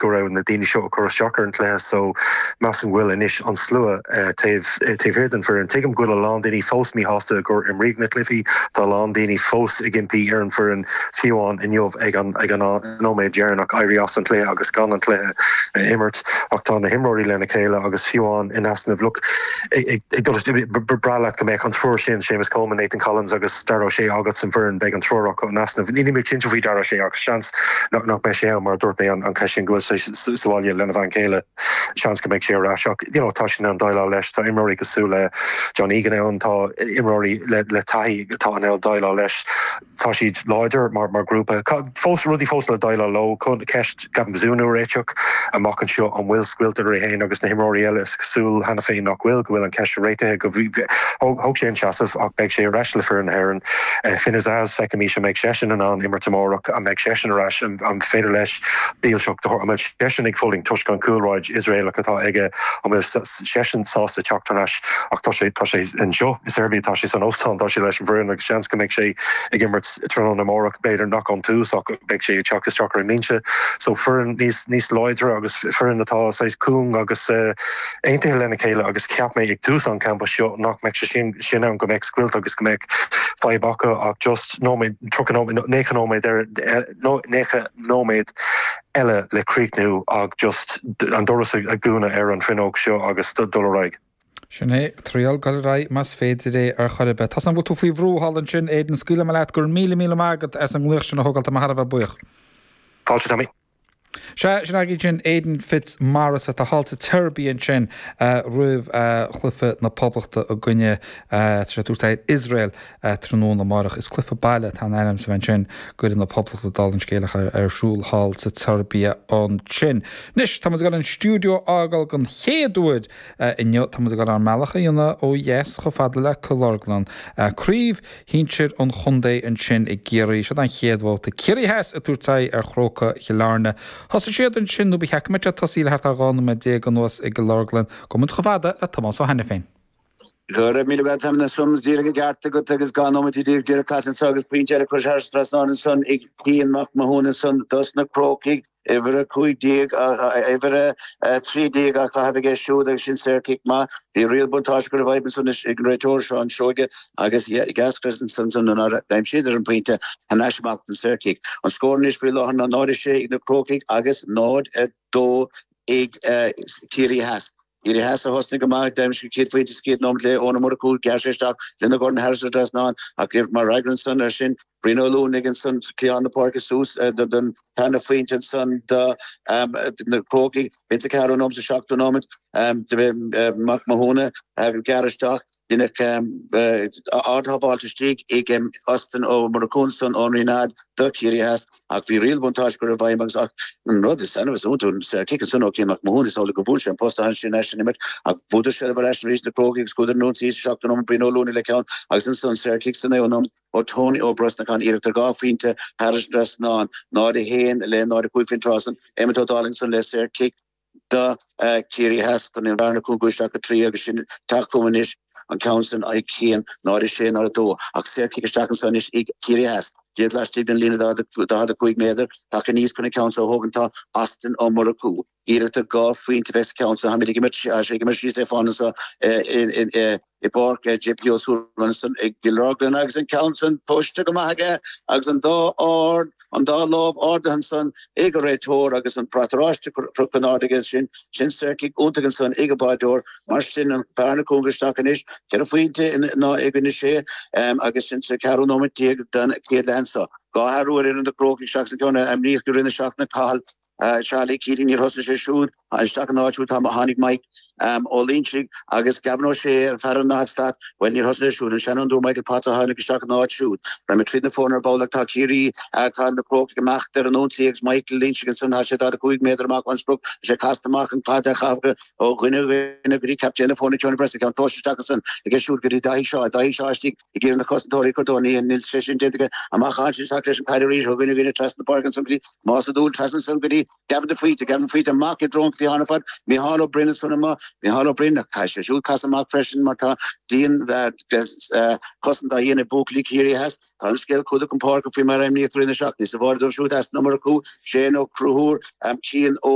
Go raibh na daoine seo ag cur isteach ar an chluiche so measaim go bhfuil anois an slua taobh taobh thiar den foireann. Tuigim go bhfuil a lán daoine fós míshásta gur imríodh na cluichí, tá a lán daoine fós ag impí ar an bhfoireann fiú amháin inniu ag an ag an nóiméad deireanach éirí as an chluiche agus gan an cluiche a imirt ach tá na himreoirí lena chéile agus fiú amháin in easnamh look ag dul ba bhreá leat go mbeadh an triúr sin, Seamus Coleman, Nathan Collins agus Dara O'Shea agat san bhfoireann, beidh an triúr acu in easnamh. Níl mé cinnte faoi Dara O'Shea ach seans nach mbeidh sé ann mar a dúirt mé an ceist sin go bhfuil sé sa bhaile lena bhean chéile seans go mbeidh sé ar ais ach you know tá siad in ann déileáil leis tá imreoirí cosúil le John Egan ann tá imreoirí le le taithí atá in ann déileáil leis tá siad láidir mar mar grúpa fós rudaí fós le déileáil leo ceist Gavin Bazunu a réiteach amach anseo an bhfuil scoilt idir é féin agus na himreoirí eile is cosúil cheana féin nach bhfuil go bhfuil an ceist réitithe go thóg sé an seasamh ach beidh sé ar ais le foireann na hÉireann. Finn Azaz, feicfimís an mbeidh seisean in ann imirt amárach, an mbeidh seisean ar ais, an féidir leis dílseacht a thabhairt, an bhfuil seisean ag fulaingt toisc an chúlráid Iosraelach atá aige, an bhfuil seisean sásta teacht thar n-ais ach tá sé, tá sé anseo i Serbia, tá sé san óstán, tá sé leis an bhfoireann agus seans go mbeidh sé ag imirt tráthnóna amárach, b'fhéidir nach ón tús ach beidh sé ag teacht isteach ar an mbinse. So foireann níos, níos láidre agus foireann atá saghas cúng agus. aontaithe lena chéile agus cheap mé ag tús an champa seo nach mbeadh sé sin sin ann, go mbeadh scoilt agus go mbeadh fadhb acu ach just nóiméad, 30 nóiméad, 90 nóiméad ar, 90 nóiméad eile le críochnú ach just an doras a dhúnadh ar an bhfuinneog seo agus dul ar aghaidh. Sin é, triail dul ar aghaidh más féidir é ar chor ar bith. Tá 's agam go bhfuil tú faoi bhrú thall ansin, Aidan, scaoilfidh mé leat, go raibh míle míle maith agat as an nglaoch sin a thógáil, tá mé thar a bheith buíoch. Fáilte, Tommy. Sea, sin againn sin Aidan Fitzmaurice atá thall sa tSeirbia ansin roimh chluiche na Poblachta i gcoinne, tá sé ag tabhairt aghaidh ar Iosrael tráthnóna amárach. Is cluiche baile atá in ainm is a bheith ansin d'fhoireann na Poblachta dála an scéil ach ar siúl thall sa tSeirbia ansin. Anois, tá muid ag dul an stiúideo a fhágáil den chéad uair inniu. Tá muid ag dul ár mbealach a dhéanamh ó dheas chomh fada le Cill Orglan. Craobh shinsir an chontae ansin i gCiarraí. Seo an chéad bhabhta. Ciarraí Theas ag tabhairt aghaidh ar Chrócaigh Chill Airne. Thosaigh siad ansin, nó ba cheart go mbeadh siad tosaithe le thart ar 12 nóiméad anuas i gCill Orglan. Gabhfaidh muid chomh fada le Tomás Ó hAiniféin. Go raibh míle maith agat, Tommy. Díreach an ceart agat agus 12 nóiméad díreach caite anso agus pointe eile curtha thar an trasnán ansan ag Cian Mac Mathúna ansan dos na Crócaigh. Uimhir 15, uimhir 13 á caitheamh aige siúd agus sin saorchic maith. Bhí riail buntáiste curtha i bhfeidhm ansan ag an réiteoir Seán Seoige agus d'eascair ansan nár aimsíodar an pointe thar n-ais amach don saorchic. An scór anois faoi láthair ná 0-6 ag na Crócaigh agus 0-2 ag Ciarraí Theas. Ciarraí Theas a thosnaigh go maith, d'aimsigh an chéad phointe sa chéad nóiméad le Eoin Ó Murchú, ghearr sé isteach lena dhorn thar an trasnán ach mar fhreagra ansan air sin, Brian Ó Luanaigh ansan cliathán na páirce suas don tarna phointe ansan do na Crócaigh. B'in sa ceathrú nóiméad sa seachtú nóiméad do Mac Mathúna gearradh isteach. Deineadh ard-shábháilt istigh ag Austin Ó Murchú ansan ón Rinnead do Chiarraí Theas ach bhí riail bhuntáiste curtha i bhfeidhm agus ach an rud is annamh is iontú an saor cic ansan ó Cian Mac Mathúna is amhlaidh gur bhuail sé an posta ansin as an imirt ach bhuadar seilbh ar ais arís na Crócaigh agus chuadar ar an ionsaí sa seachtú nóiméad Brian Ó Luanaigh le ceann agus ansan saor cic sa naoú nóiméad ó Tony Ó Brosnacháin iarracht ar 2 phointe thar an trasnán 0-1 le 0-5 faoin tráth san Emmet Ó Dálaigh ansan le saor cic do Chiarraí Theas chun an bhearna a chúngú isteach go 3 agus sin teacht chugam anois an ceann san ag Cian 0 6 0 2 ach saorchic isteach anso anois ag Ciarraí Theas díreach laistigh den líne 45 méadar tagtha aníos chun an ceann so a thógaint tá Austin Ó Murchú iarracht ar 2 phointe a bheith sa cheann so táimid ag imirt ag imirt síos é fán anso i i bPáirc JP O'Sullivan ansan i gCill Orglan agus an ceann san tomhaiste go maith aige agus an dá ard, an dá lámh ardaithe ansan ag an réiteoir agus an brat oráiste crochta in airde aige sin, sin saorchic iontach ansan ag an báideoir. Mar sin, an bhearna cúngaithe isteach anois, 4 phointe ina i gcoinne sé agus sin sa cheathrú nóiméad den chéad leath anso. 2 athrú ar fhoireann na gCrócaigh seachas an ceann a imríodh i rith na seachtaine, Cathal Charlie Keating, níor thosaigh sé siúd isteach ina áit siúd tháinig Mike Ó Loingsigh agus Gavin O'Shea, an fear ar an ndaichead slat, bhuel níor thosaigh sé siúd, an seanfhondúir Michael Potts a tháinig isteach ina áit siúd. Raghaidh muid tríd na foirne ar ball ach tá Ciarraí, tá na Crócaigh ag imeacht ar an ionsaí agus Michael Loingsigh ansan, tá sé 45 méadar amach ón sprioc, tá sé casta amach an caid á chaitheamh ó dhuine go dhuine go dtí captaen na foirne Tony Brosnan, ceann tomhaiste isteach ansan aige siúd go dtí Daithí Shaw, Daithí Shaw istigh ag iarraidh na cosantóirí a chur dó, níl sé sin déanta aige. Amach ansin isteach leis an caid arís ó dhuine go duine trasna na páirce ansan go dtí Tomás Ó Dúill, trasna ansan go dtí Gavin de Faoite, Gavin de Faoite amach i dtreo an. tosaitheoireachtaí ar fad. Micheál Ó Broin ansan amuigh, Micheál Ó Broin, caithfidh sé siúd casadh amach freisin mar tá dian chosaint á dhéanamh ag buachaillí Ciarraí Theas. Tá an scéal clúdaithe chun páirce faoi mar a imníodh i rith na seachtaine. Sa bháire dóibh siúd as an iomarcú, Shane Ó Conchúir, Cian Ó.